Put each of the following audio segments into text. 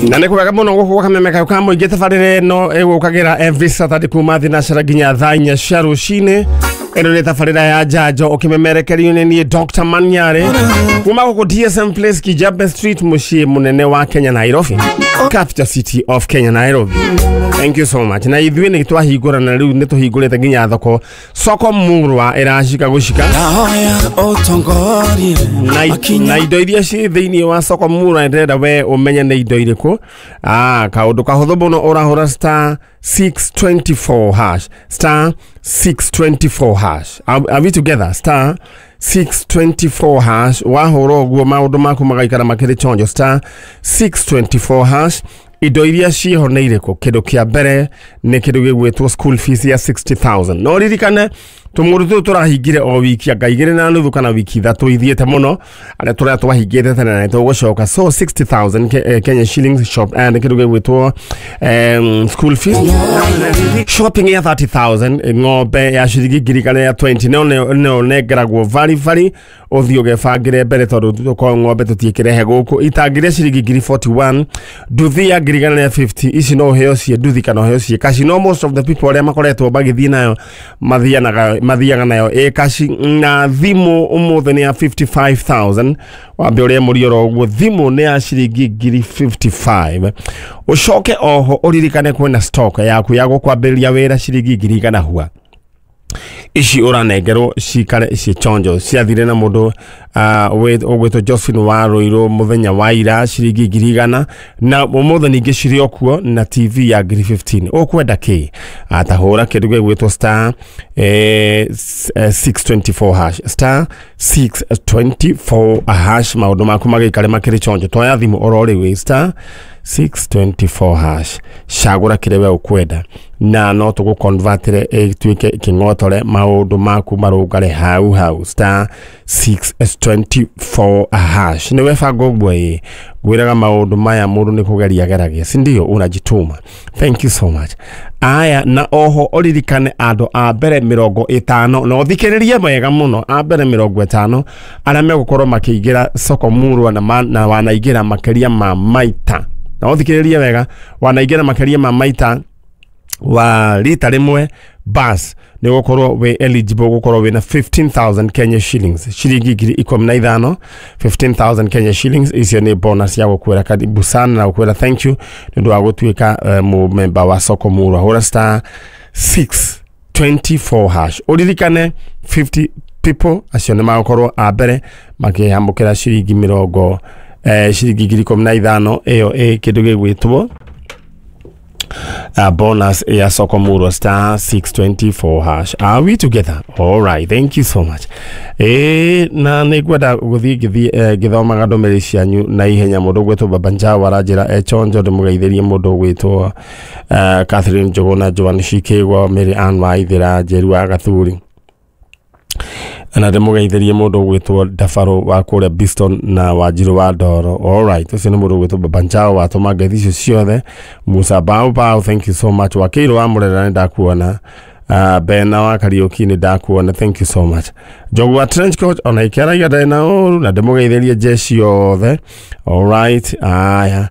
Na nĩ kwega mũno gũkũ gwa Kameme Kayũ ka Mũingĩ. Tabarĩra ĩno ĩgũkagĩra every Saturday kuma thinacara nginya thaa 4 cia rũcinĩ. Ĩno nĩ tabarĩra ya njanjo ũkĩmemerekerio nĩ niĩ Dr. Manyare kuma gũkũ DSM Place, Kijabe Street, mũciĩ mũnene wa Kenya, Nairobi, capital city of Kenya, Nairobi. Thank you so much. Na ithuĩ nĩ twahingũra, na rĩu nĩ tũhingũrĩte nginya thoko, soko murwa ĩracika gũcika. Ndahoya ũtongorie Na indo iria ciĩ thĩinĩ wa soko murwa, ndĩrenda we ũmenye nĩ indo irĩkũ. Kaũndũ kahũthũ mũno, ũrahũra star 624 hash, star 624 hash. Are we together? Star 624 hash. Wahũra ũguo, maũndũ maku magaikara makĩrĩ chonjo. Star 624 hash. Indo iria ciĩho nĩ irĩkũ? Kĩndũ kĩa mbere nĩ kĩndũ gĩgwĩtwo school fees ya 60,000. No ririkane tũmũndũ tũtũ tũrahingire o wiki anga 2.5 kana wiki 3 ithiĩte mũno, arĩa tũrĩa twahingĩte tene na nĩtũgũcoka. So 60,000 Kenya shillings shop and kĩndũ gĩgwĩtwo school fees, shopping ya 30,000, ng'ombe ya ciringi 120,000 ya 20, no nengeragwo vari vari, ũthiĩ ũgebangĩre mbere tondũ tũkorwo ng'ombe tũtiĩkĩrehe gũkũ. Itangi rĩa ciringi ngiri 41, nduthi ya 150,000. Ici no ũheo ciĩ nduthi kana ũheo ciĩ kaci, no most of the people arĩa makoretwo magĩthiĩ nayo mathiaga nayo ĩ kaci. Na thimũ ũmũthĩ nĩ ya 55,000. Wambe ũrĩa mũrioro ũguo, thimũ nĩ ya ciringi ngiri 55. Ũcoke oho ũririkane kwĩna stock yaku ya gũkwambĩrĩria wĩra ciringi 100,000 hua. Ici ũranengerwo cikare ciĩ chonjo. Ciathire na mũndũ ũgwĩtwo Josephine wa Rũirũ mũthenya wa ira, ciringi 100,000, na ũmũthĩ ningĩ cirĩ o kuo na TV ya ngiri 15. Ũkwenda kĩ? Atahũra kĩndũ gĩgwĩtwo star 624 hash, star 624 hash, maũndũ maku magĩikare makĩrĩ chonjo. Toya thimũ oro rĩu, star 624 hash, cagũra kĩrĩa we ũkwenda na no tũgũconvertĩre ĩtuĩke kĩng'otore, maũndũ maku marũngare hau hau. Star 624 hash, nĩ webanga ũguo. Ĩ ngwĩraga maũndũ maya mũndũ nĩ kũgeria geragia, si ndio? Unajituma. Thank you so much. Aya, na oho ũririkane andũ a mbere 50, na ũthikĩrĩrie wega mũno, a mbere 50 arĩa megũkorwo makĩingĩra soko murwa na wanaingĩra makĩria ma maita, na ũthikĩrĩrie wega, wanaingĩra makĩria ma maita wa rita rĩmwe, bas nĩ gũkorwo wĩ eligible gũkorwo wĩna 15,000 Kenya shillings, ciringi 15,000. 15,000 Kenya shillings icio nĩ bonus ya gũkwĩra karibu sana na gũkwĩra thank you nĩ ũndũ wa gũtuĩka mũmemba wa soko murwa. Hũra star 624 hash, ũririkane 50 people acio nĩ magũkorwo a mbere makĩamũkĩra ciringi mĩrongo ciringi 15,000. Ĩyo ĩ kĩndũ gĩgwĩtwo bonus ya soko murwa, star 624 hash. Are we together? All right, thank you so much. Na nĩ ngwenda gũthiĩ ngĩthiĩ ngĩthomaga ndũmĩrĩri cianyu na ihenya. Mũndũ ũgwĩtwo Baba Njau aranjĩra echonjo, ndĩmũgeithĩrie mũndũ ũgwĩtwo Catherine Njũgũna, Joan Shikĩgwa, Mary Ann Waithĩra, Njeru wa Gathuri, na ndĩmũgeithĩrie mũndũ ũgwĩtwo Ndabarũ wa kũrĩa Biston na Wanjirũ wa Ndoro. Alright, ũcio nĩ mũndũ ũgwĩtwo Baba Njau watũma ngeithi icio ciothe. Musa Bao Bao, thank you so much. Wakĩirwo wa Mũrera, nĩ ndakuona. Bena wa Kariũki, nĩ ndakuona, thank you so much. Njogu wa trench coat ona ikĩaragia ndarĩ na ũru, na ndĩmũgeithĩrie jeshi yothe. Alright, aya,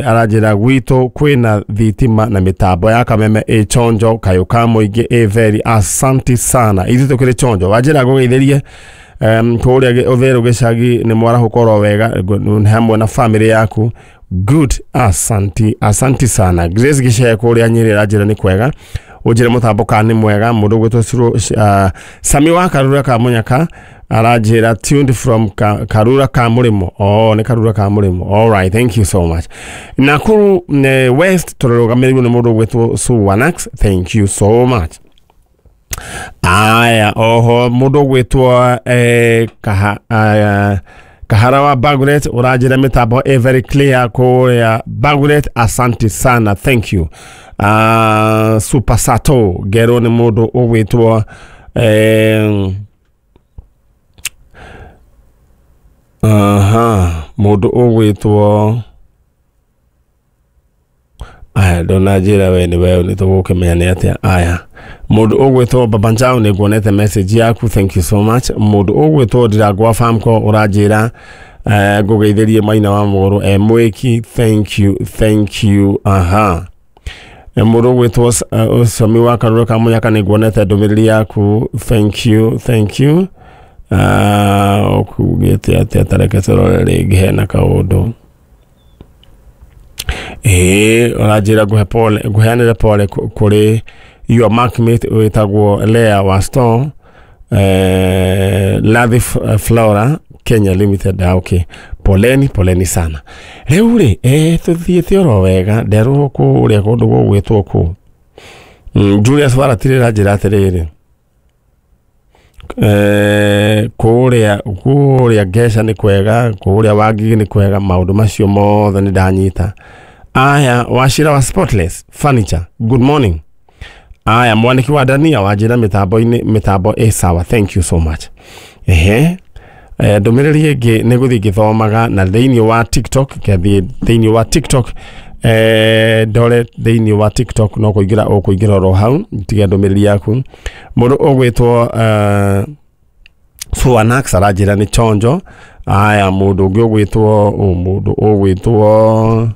aranjĩra gwitũ kwĩna thitima na mĩtambo ya Kameme ĩ chonjo, kayũ ka mũingĩ ĩ very asanti sana, ithuĩ tũkĩrĩ chonjo. Wanjĩra ngũgeithĩrie kũrĩa ũtherũ gĩcagi, nĩ mwarahũka wega hamwe na family yaku. Good, asanti, asanti sana. Grace Gĩcee kũrĩa Nyĩrĩ aranjĩra nĩ kwega, ũnjĩre mũtambo kana nĩ mwega. Mũndũ ũgwĩtwo Sami wa Karura ka Mũnyaka aranjĩra tuned from Karura ka Mũrĩmo. Oh, nĩ Karura ka Mũrĩmo. All right, thank you so much. Nakuru West tũrũgamĩrĩirwo nĩ mũndũ ũgwĩtwo Suwanax, thank you so much. Aya, oho mũndũ ũgwĩtwo Kahara wa Baguret ũranjĩra mĩtambo ĩ very clear kũrĩa Baguret, asante sana, thank you. Super Sato ngerwo nĩ mũndũ ũgwĩtwo aha, mũndũ ũgwĩtwo, aya, ndũnanjĩra we nĩ we, nĩ tũgũkĩmenya nĩ atĩa. Aya, mũndũ ũgwĩtwo Baba Njau, nĩ nguonete message yaku, thank you so much. Mũndũ ũgwĩtwo Ndirangwa Famco ũranjĩra Ngũgeithĩrie Maina wa Mũgũrũ e mwĩki, thank you, thank you. Aha, mũndũ ũgwĩtwo Ũcomi wa Karũrũ ka Mũnyaka, nĩ nguonete ndũmĩrĩri yaku, thank you, thank you. Ũkugĩte atĩa? Tareke tũrore rĩngĩ, hena kaũndũ ĩĩ ũranjĩra ngũhe pole, ngũheanĩre pole kũrĩ your workmate wĩtagwo Lea wa store Lathi Flora Kenya Limited. Ah, okay, poleni, poleni sana. Rĩu rĩ tũthiĩte oro wega, nderwo kũrĩa kũndũ gũgwĩtwo kũ Julius Waratirĩ ranjĩra atĩrĩrĩ, kũrĩa Ngeca nĩ kwega, kũrĩa Wangigĩ nĩ kwega, maũndũ macio mothe nĩ ndanyita. Aya, Wacira wa Spotless Furniture, good morning. Aya, mwaniki wa Dania wanjĩra mĩtambo-inĩ, mĩtambo ĩ sawa, thank you so much. Ehe, ndũmĩrĩri ĩngĩ nĩ gũthiĩ ngĩthomaga na thĩinĩ wa TikTok, ngathiĩ thĩinĩ wa TikTok, ndore thĩinĩ wa TikTok, no kũingĩra ũkũingĩra oro hau tige ndũmĩrĩri yaku. Mũndũ ũgwĩtwo Suanax aranjĩra nĩ chonjo. Aya, mũndũ ũngĩ ũgwĩtwo mũndũ ũgwĩtwo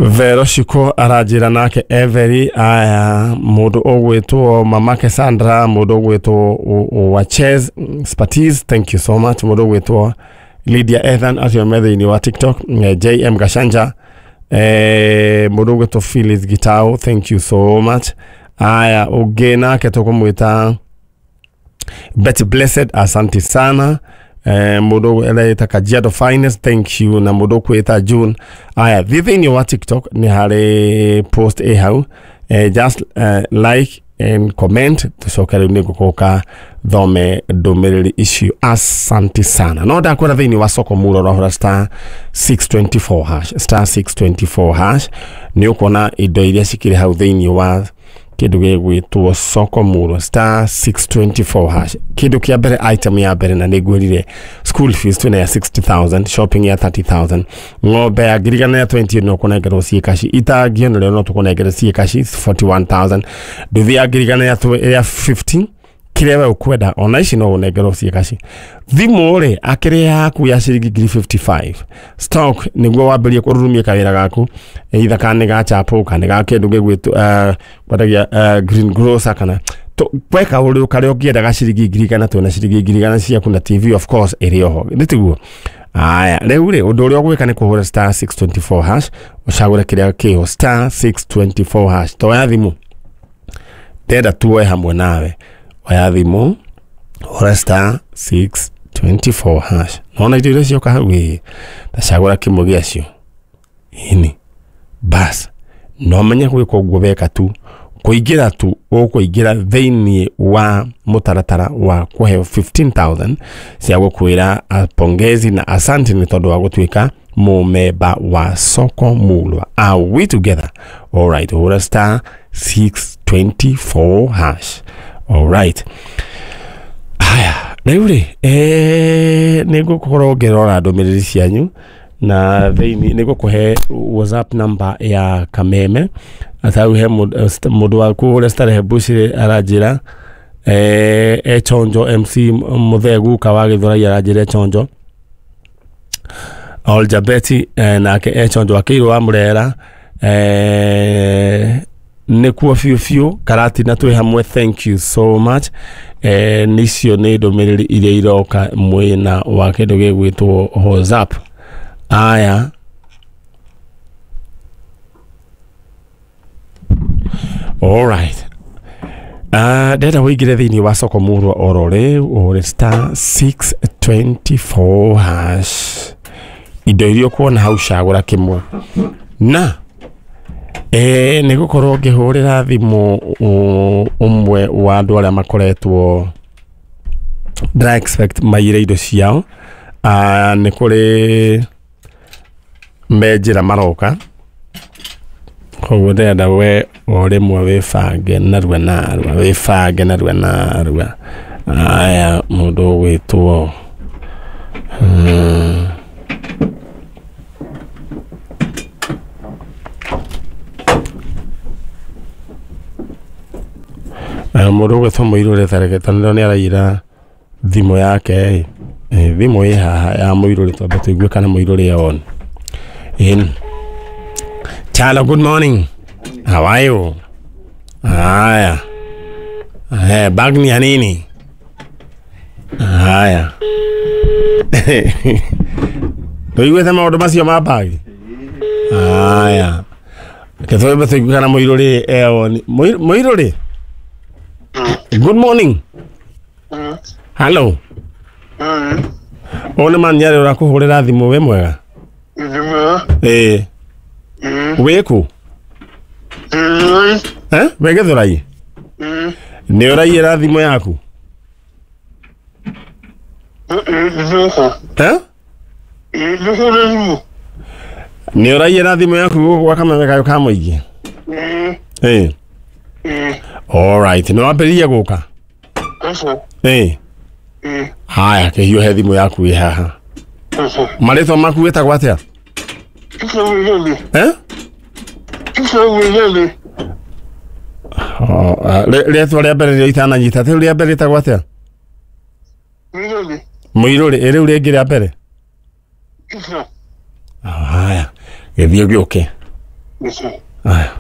Vero Shiko aranjĩra nake Every. Aya, mũndũ ũgwĩtwo Mamake Sandra, mũndũ ũgwĩtwo Waches Spatis, thank you so much. Mũndũ ũgwĩtwo Lydia Ethan, acio me thĩinĩ wa TikTok. JM Gashanja, mũndũ ũgwĩtwo Phyllis Gitau, thank you so much. Aya, ũngĩ nake tũkũmwĩta Betty Blessed, asante sana. Mũndũ ũreita Kajiado Finest, thank you, na mũndũ ũkwĩta June. Aya, thiĩ thĩinĩ wa TikTok, nĩ harĩ post ĩ hau, just like and comment, tũcoke rĩu nĩ ngũkũka thome ndũmĩrĩri icio. Asante sana. No ndakwĩra thĩinĩ wa soko muro ũrahũra star 624 hash, star 624 hash, nĩ ũkuona indo iria cikĩrĩ hau thĩinĩ wa kĩndũ gĩgwĩtwo soko muro, star 624 hash. Kĩndũ kĩa mbere, item ya mbere, na nĩngwĩrire school fees twĩna ya 60,000, shopping ya 30,000, ng'ombe ya 120,000 ya 20 no kũnengerwo ciĩ kaci, itangio narĩo no tũkũnengere ciĩ kaci 41,000, nduthi ya 100,000 ya 50, kĩrĩa we ũkwenda ona ici no ũnengerwo ciĩ kaci. Thimũ rĩ akĩrĩ yaku ya ciringi 55,000 stock, nĩguo wambĩrie kũrurumia kawĩra gaku, either kana nĩ ga chapo kana nĩ ga kĩndũ gĩgwĩtwo kwendagia green grocer, kana gwe kaũndũ karĩa ũngĩenda ga ciringi 100,000, twĩna ciringi 100,000 ciaku, na TV of course ĩrĩ oho, nĩ tiguo? Aya, rĩu rĩ ũndũ ũrĩa ũgwĩka nĩ kũhũra star 624 hash, ũcagũre kĩrĩa kĩho, star 624 hash. Toya thimũ, ndenda tuoe hamwe nawe. Oya thimũ, hũra star 624 hash, nona indo iria cioka hau ĩ, tacagũra kĩmwe gĩacio ini bas, no menye gwĩka ũguo weka tu kũingĩra tu ũkũingĩra thĩinĩ wa mũtaratara wa kũheo 15,000 cia gũkwĩra pongezi na asante nĩ tondũ wa gũtuĩka mũmemba wa soko mulwa. Are we together? Alright, hũra star 624 hash. Alright, haya, rĩu rĩ nĩ ngũkorwo ngĩrora ndũmĩrĩri cianyu na thĩinĩ nĩ ngũkũhe WhatsApp number ya Kameme. Atau he mũndũ wa kũrĩa Starehe Bush aranjĩra e chonjo, MC Mũthee Guka wa Gĩthũrai aranjĩra e chonjo, Oljabeti nake e chonjo, akĩirwo wa Mũrera nĩkuo biũ biũ, Karatina twĩ hamwe, thank you so much. Nicio nĩ ndũmĩrĩri iria iroka mwena wa kĩndũ gĩgwĩtwo WhatsApp. Aya, alright, ndenda wĩingĩre thĩinĩ wa soko murwa oro rĩu, ũhũre star 624 hash, indo iria ũkuona hau cagũra kĩmwe, na nĩ gũkorwo ngĩhũrĩra thimũ ũmwe wa andũ arĩa makoretwo ndĩra expect maire indo ciao. Nĩ kũrĩ me njĩra maroka, koguo ndĩrenda we o rĩmwe wĩbange narua narua, wĩbange narua narua. Aya, mũndũ ũgwĩtwo mũndũ ũgwĩtwo Mũirũ rĩ, tareke tondũ nĩ araira thimũ yake ĩ. Thimũ ĩ haha ya mũirũrĩ twambe tũigue kana mũirũrĩ on. In Chalo, good morning. How are you? Haya. Bag ni ya nini? Haya. Tũiguĩte maũndũ macio ma bag? Haya. Reke twambe tũigue kana mũirũrĩ e on. Mũirũrĩ? Good morning. Hello. Ũyũ nĩ Manyarĩ ũrakũhũrĩra thimũ, wĩ mwega? Ĩĩ. Wĩ kũ? Wĩ Gĩthũrai? Nĩ ũraiyĩra thimũ yaku? Nĩ ũraiyĩra thimũ yaku gũkũ gwa Kameme Kayũ ka Mũingĩ? Ĩĩ. All right, nĩ wambĩrĩria gũka? Ĩĩ. Haya, kĩhiũhe thimũ yaku ĩ haha. Marĩtwa maku wĩtagwo atĩa? Rĩtwa rĩa mbere rĩrĩa itananyita, rĩu rĩa mbere rĩtagwo atĩa? Mũirũrĩ. Ĩ rĩu rĩngĩ rĩa mbere? Haya, gĩthiĩ gĩũke. Haya.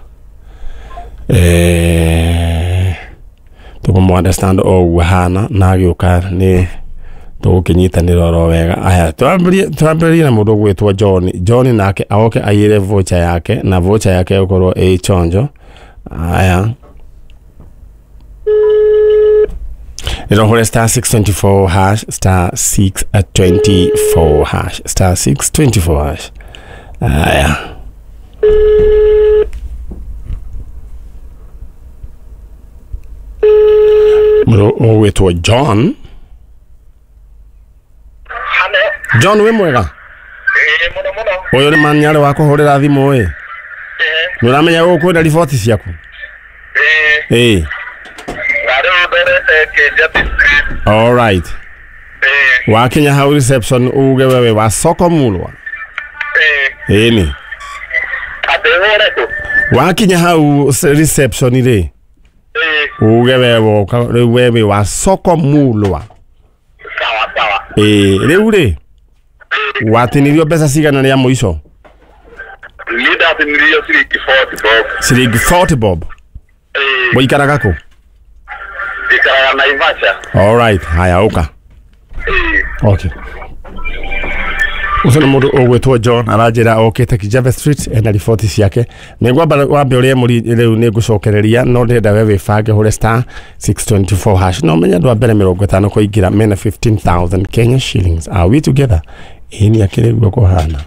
Tũkũmũ understand o ũguo hana na agĩũka nĩ tũgũkĩnyitanĩra oro wega. Aya, twambĩrĩrie na mũndũ ũgwĩtwo John. John nake aoke aiyĩre voucher yake, na voucher yake ĩgũkorwo ĩ chonjo. Aya. Nĩrohũre star 624 hash, star 624 hash, star 624 hash. Aya. Mũndũ ũgwĩtwo John. John, wĩ mwega? Mũno mũno. Ũyũ nĩ Manyarĩ wa kũhũrĩra thimũ ĩ. Nĩ ũramenya gũkwenda riboti ciaku? Ĩĩ. All right. Wakinya hau reception uge wewe wa soko Mulwa. Ĩni. Wakinya hau reception rĩ. Uge wewe wewe wa soko Mulwa. Sawa sawa. Rĩu rĩ watinirio mbeca cigana rĩa mũico? Nĩ ciringi 40 bob. Ciringi 40 bob. Mũikaraga kũ? Njikaraga Naivasha. All right, haya ũka. Okay. Ũcio nĩ mũndũ ũgwĩtwo John aranjĩra okĩte Kijabe Street ena riboti ciake. Nĩ ngwamba wambe ũrĩe mũri rĩu nĩ ngũcokereria, no ndĩrenda we wĩbange hũre star 624 hash. No menye andũ a mbere 50 kũingĩra mena 15,000 Kenya shillings. Are we together? Ĩĩ nĩ akĩrĩ guo kũhana.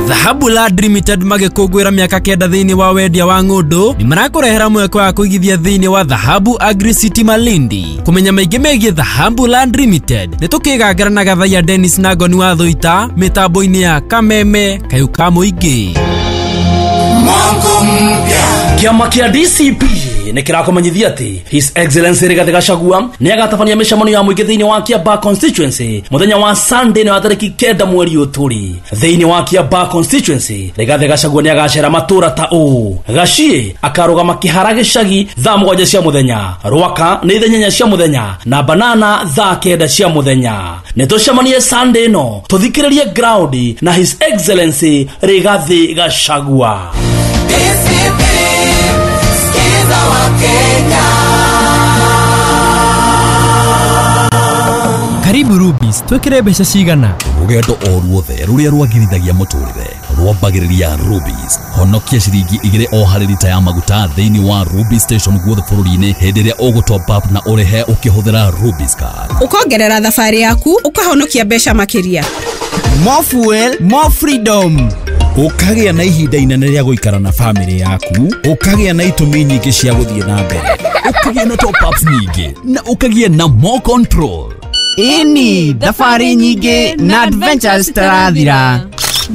Dhahabu Land Limited magĩkũngũĩra mĩaka 9 thĩinĩ wa wendia wa ng'ũndũ nĩ marakũrehera mweke wa kũigithia thĩinĩ wa Dhahabu Agri City Malindi. Kũmenya maingĩ megiĩ Dhahabu Land Limited nĩ tũkĩgangara na Gathaiya Dennis na Ngoni wa Thũita mĩtambo-inĩ ya Kameme Kayũ ka Mũingĩ. Kĩama kĩa DCP nĩ kĩrakũmenyithia atĩ His Excellency Rigathi Gachagua nĩ agatabania mĩcemanio ya mũingĩ thĩinĩ wa Kiambaa constituency mũthenya wa Sunday nĩ wa tarĩki 9 mweri ũyũ tũrĩ. Thĩinĩ wa Kiambaa constituency Rigathi Gachagua nĩ agacera matũra ta ũũ: Gaciĩ akarũgama Kĩhara gĩcagi thaa 7 cia mũthenya, Rwaka nĩ thaa 8 cia mũthenya na Banana thaa 9 cia mũthenya. Nĩ tũcemanie Sunday ĩno tũthikĩrĩrie ground na His Excellency Rigathi Gachagua. DCP, skiza wa Kenya. Karibu Rubis, twĩkĩre mbeca cigana? Rũgendo o ruothe rũrĩa rwagĩrithagia mũtũrĩre rwambagĩrĩria Rubis. Honokia ciringi 2 o harĩ rita ya maguta thĩinĩ wa Rubis station guothe bũrũri-inĩ hĩndĩ ĩrĩa ũgũ top up na ũrĩhe ũkĩhũthĩra Rubis card. Ũkongerera thabarĩ yaku ũkahonokia mbeca makĩria. More fuel, more freedom. Ũkagĩa na ihinda inene rĩa gũikara na famĩlĩ yaku, ũkagĩa na itũmi nyingĩ cia gũthiĩ na mbere, ũkagĩa na top ups nyingĩ na ũkagĩa na more control. Ĩni, thabarĩ nyingĩ na adventures tarathira.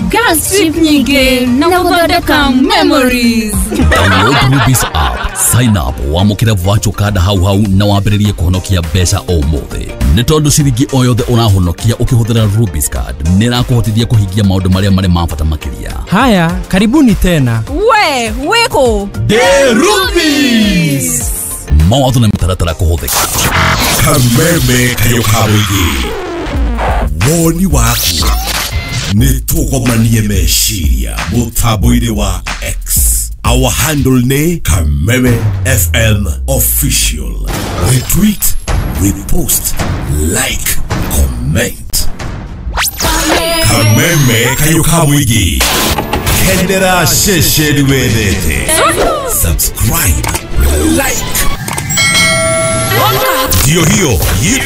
Gas trip nyingĩ na gũthondeka memories. Download Rubis app, sign up, wamũkĩre virtual card hau hau na wambĩrĩrie kũhonokia mbeca ũmũthĩ. Nĩ tondũ ciringi o yothe ũrahonokia ũkĩhũthĩra Rubis card nĩ ĩrakũhotithia kũhingia maũndũ marĩa marĩ ma bata makĩria. Haya, karibuni tena. We, wĩkũ? The Rubis. Mawatho na mĩtaratara kũhũthĩka. Kameme Kayũ ka Mũingĩ. Woni waku nĩ tũgomanie meciria mũtambo-inĩ wa X. Our handle nĩ Kameme FM Official. Retweet, repost, like, comment. Kameme kayũ ka mũingĩ. Kendera ceceni wendete. Subscribe, like. Ndio hiyo YouTube.